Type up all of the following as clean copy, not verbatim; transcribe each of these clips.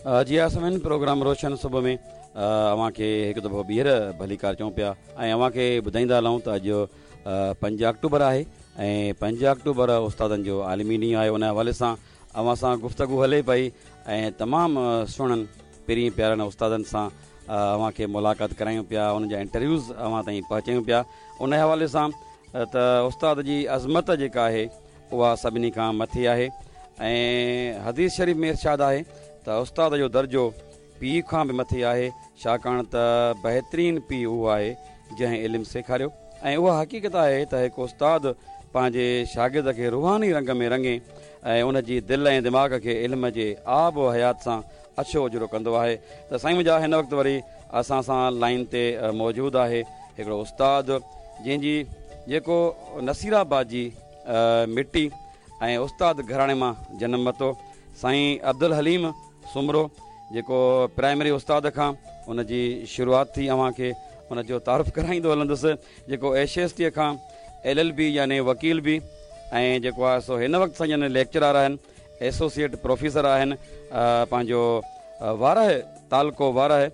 جي ها سامعين پروگرام روشن صبح ۾ اوهان کي هڪ دفعو ٻيهر ڀليڪار چئون پيا ۽ اوهان کي ٻڌائيندا هلون ته اڄ 5 آڪٽوبر آهي ۽ 5 آڪٽوبر استادن جو عالمي ڏينهن آهي ان حوالي سان اوهان سان گفتگو هلي پئي ۽ تمام سهڻن پرين پيارن استادن سان اوهان کي ملاقات ڪرايون پيا انهن جا انٽرويوز اوهان تائين پهچايون پيا ان حوالي سان ته استاد جي عظمت جيڪا آهي اها سڀني کان مٿي آهي ۽ حديث شريف ۾ ارشاد آهي ته استاد جو درجو پيء کان به مٿي آهي، ڇاڪاڻ ته بهترين پيء اهو آهي جنهن علم سيکاريو ۽ اها حقيقت آهي ته هڪ استاد پنهنجي شاگرد کي روحاني رنگ ۾ رڱي ۽ ان جي دل ۽ دماغ کي علم جي آب و حيات سان اڇو اجرو ڪندو آهي ته سائين منهنجا هن وقت وري اسان سان لائين تي موجود آهي هڪڙو استاد جنهن جي جيڪو نصير آباد جي مٽي ۽ استاد گهراڻي مان جنم ورتو سائين عبدالحليم سومرو جيڪو پرائمري استاد کان ان جي شروعات ٿي اوهان کي ان جو تعارف ڪرائيندو هلندس جيڪو ايس ايس ٽي کان ايل ايل بي يعني وڪيل به ۽ جيڪو آهي سو هن وقت سائين جن ليڪچرار آهن ايسوسيئيٽ پروفيسر آهن پنهنجو وارهه تعلقو Warah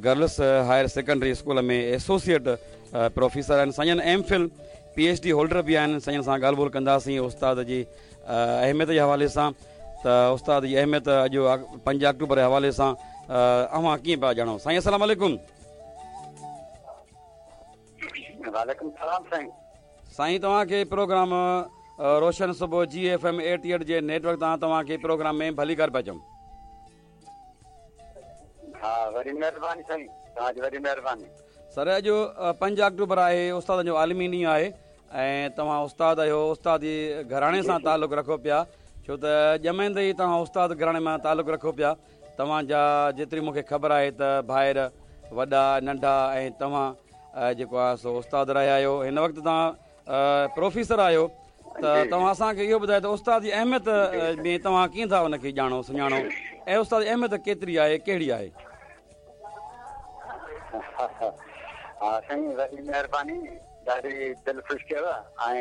girls higher secondary school ۾ associate professor آهن سائين جن M Phil P H D holder به آهن سائين سان ڳالهه ٻولهه ڪنداسين استاد جي اهميت جي حوالي سان ته استاد جي اهميت اڄ 5 آڪٽوبر جي حوالي سان اوهان ڪيئن پيا ڄاڻو سائين السلام عليڪم. وعليڪم السلام سائين. سائين توهان کي پروگرام روشن صبح جي ايف ايم 88 جي نيٽ ورڪ تان توهان کي پروگرام ۾ ڀليڪار پيا چئون. ها وڏي مهرباني سائين توهان جي وڏي مهرباني. سر اڄ 5 آڪٽوبر آهي استادن جو عالمي ڏينهن آهي ۽ توهان استاد آهيو، استادي گهراڻي سان تعلق رکو پيا، ڇو ته ڄمندي ئي توهان استاد گهراڻي مان تعلق رکو پيا، توهان جا جيتري مون کي خبر آهي ته ڀائر وڏا ننڍا ۽ توهان جيڪو آهي سو استاد رهيا آهيو، هن وقت توهان پروفيسر آهيو ته توهان اسان کي اهو ٻڌايو ته استاد جي اهميت ۾ توهان ڪيئن ٿا ان کي ڄاڻو سڃاڻو ۽ استاد جي اهميت ڪيتري آهي ڪهڙي آهي؟ ها سائين وڏي مهرباني. ڏاڍي دل خوش ڪيو ۽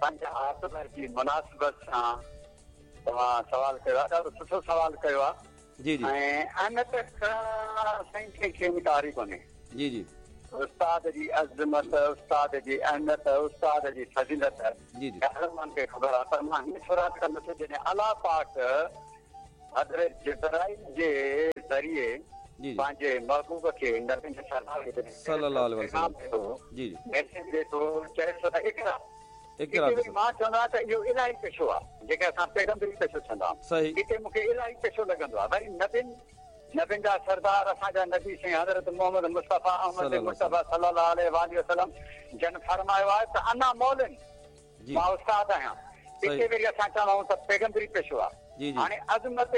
پنهنجي آڪٽوبر جي مناسبت سان توهان سوال ڪيو آهي ڏاڍو سٺو سوال ڪيو آهي جي جي ۽ اهميت کان سائين ڪنهن کي انڪار ئي ڪونهي جي جي استاد جي عظمت استاد جي اهميت استاد جي فضيلت جي جي هر ماڻهو کي خبر آهي پر مان هيئن شروعات ڪندس جڏهن الله پاڪ حضرت جبرائيل جي ذريعي جي جي پنهنجي محبوب کي نبين سردار کي جڏهن صلي الله عليه پيغام وسلم ڏئي ٿو جي جي ميسيج ڏئي ٿو چئي ٿو ته اقرا اقرا هتي وري بسم مان چوندو آهيان ته اهو الاهي پيشو آهي جيڪي اسان پيغمبري پيشو چوندا آهيون صحيح هتي مون کي الاهي پيشو لڳندو آهي وري نبين نبين جا سردار اسان جا نبي سائين حضرت محمد مصطفيٰ احمد صلي الله عليه مجتبيٰ وسلم صلي الله عليه واٰله وسلم جن فرمايو آهي ته انا معلم جي مان استاد آهيان صحيح هتي وري اسان چوندا آهيون ته پيغمبري پيشو آهي جي جي هاڻي عظمت